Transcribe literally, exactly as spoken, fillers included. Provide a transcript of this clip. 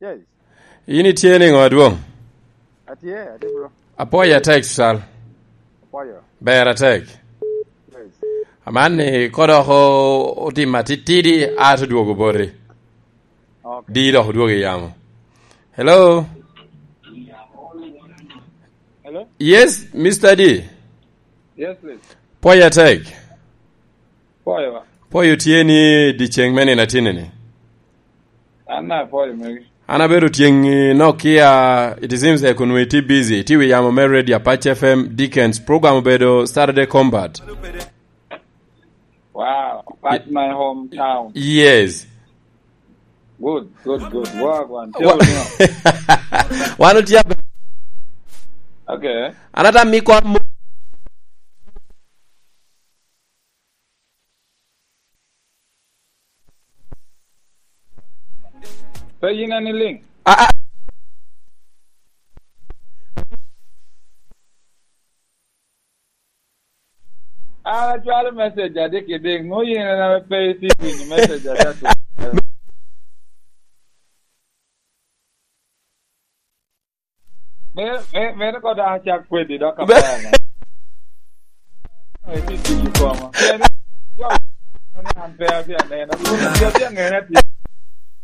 Yes. In itye niŋo, adwoŋ? Atye, atye, bro. Apwoyo atek, cal. Apwoyo. Ber atek. Yes. Aman ni kodok o-, otim atitidi, ato dwogo boti. Okay. Di dok odwogo i yamo. Hello? Hello? Yes, Mister D. Yes, please. Pwoyo atek. Pwoyo ba. Pwoyo tye ni dyeceŋ me nino atinni ni. An na pwoyo megi. An abedo tyeŋ i Nokia, it seems like onwe iti busy, iti wi yamo me Radio Apache F M, Dickens, program obedo Saturday Combat. Wow, that's my hometown. Yes. Good, good, good. Work one. Wa- Tell me. Wan otye abe- Okay. An ata mi kwan mo- Pe yin en iliŋ. Ah, ah. An acwalo message adik idik, ŋo yin en ame pe iti winyo message adik? Me, me, mene ko dok acak kwedi dok. Be- apaya na. Iti tiyo koma. Pien jo ni an pe atye aneno. Kun jo tye aŋena tye